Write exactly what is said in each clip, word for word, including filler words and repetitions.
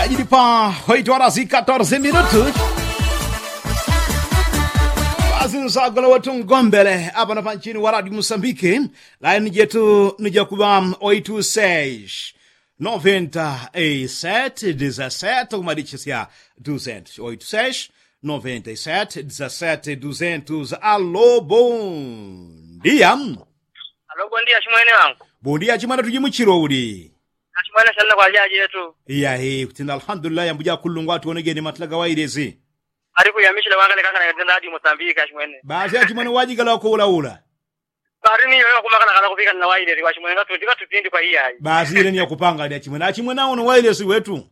Ajili pa oito horas y catorze minutos. Pasinsagola wetu ngombele apano panchini wa radio musambike. Laini jetu ni jakuŵa oito seis noventa y sete dezasete kumadichisya duzentos oito seis noventa y sete dezasete duzentos. Alo bondia. Alo bondia chimwene wangu. Bondia chimwene tujimuchilo uli. Achimwene shanna kwa jajetu. Iyahi kutinda alhamdulillahi ambuja kulungwa tuonegeni matlaga wailezi. Ali kuyamichila wangale kangana yatenda adi musambika chimwene. Basi achimwene wajigala wakuulaula. Bari ni yoyo kumakala kala kupika na wailezi kwa chimwene nga tundi nga tutindi kwa iyayi. Basi ile ni yakupanga ali achimwene achimwene awono wailezi wetu.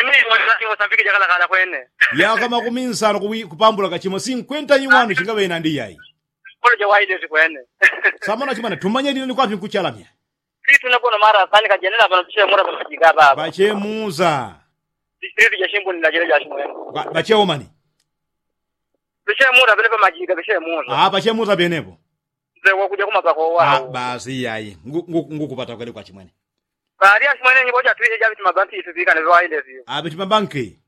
Imili mwana ni musambika jakala kala kwene. Yaka makumi nsano kupambula kachimo sinkwenta iwanu chingaŵe inandi iyayi. Kolo ja wailezi kwene. Samona chimwene tumanye lino ni kwapi nkuchalamya. Pitu napono mara asani kajenela pano piche mura pamajiga baba. Pache muza. Pitu ja shimbu ni lajele ja shimwene. Pache omani. Piche mura pene pamajiga piche muza. Ah pache muza penepo. Nze wakuja kumapako wao. Basi iyayi ngukupata kwele kwa chimwene. Bali ashimwene nyiboja twihe ja biti mabanki itupika ne waile vyo. Abiti mabanki.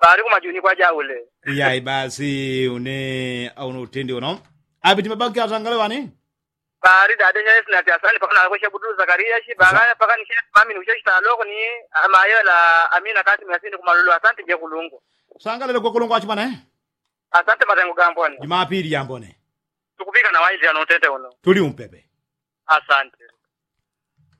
Bali kumajuni kwa jaule. Iyayi basi une auno utende uno. Abiti mabanki atangale wani. Bari dade nyesi nati asani pakana kweshe budu zakariya shi bagaya pakani she mami ni ushe shitaloko ni amayo la amina kasi miasini kumalulu asante je kulungu. Sangalele kwe kulungu achimane. Asante matengo gambone. Jumapili yambone. Tukupika na waili ano utende uno. Tuli umpepe. Asante.